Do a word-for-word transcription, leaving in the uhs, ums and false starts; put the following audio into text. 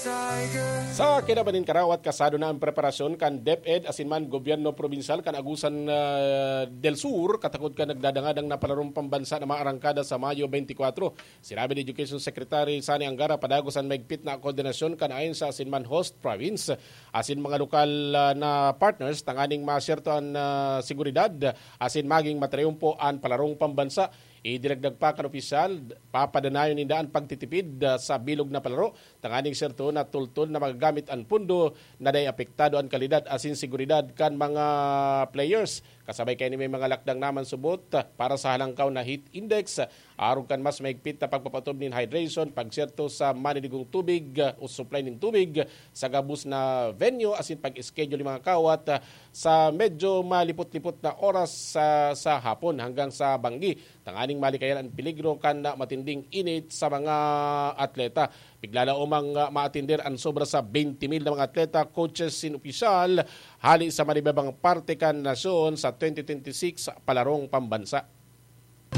Sa kinabaning karawat, kasado na ang preparasyon kan DepEd asin man gobyerno probinsyal kan Agusan ah, del Sur, katakod kan nagdadangadang na palarong pambansa na maarangkada sa Mayo twenty-four. Sinabi ni Education Secretary Sani Angara, padagos an maigpit na koordinasyon kan ahensya asin man host province asin mga lokal ah, na partners tanganing masyerto an ah, seguridad asin maging matriyumpo an palarong pambansa. Idinagdag pa kan opisyal, papadanayon ninda an pagtitipid ah, sa bilog na palaro tanganing serto na tultol na magagamit an pondo na dai apektado an kalidad asin seguridad kan mga players. Kasabay kaini, may mga lakdang naman subot para sa halangkaw na heat index, arog kan mas mahigpit na pagpapatob nin hydration, pagserto sa maniligong tubig o supply nin tubig sa gabos na venue asin pag-schedule nin mga kawat sa medyo malipot-lipot na oras sa, sa hapon hanggang sa banggi, tanganing malikayan ang peligro kan matinding init sa mga atleta. Piglalaomang ah, maatinder an sobra sa twenty mil na mga atleta, coaches sin opisyal hali sa manibabang parte kan nasyon sa twenty twenty-six palarong pambansa.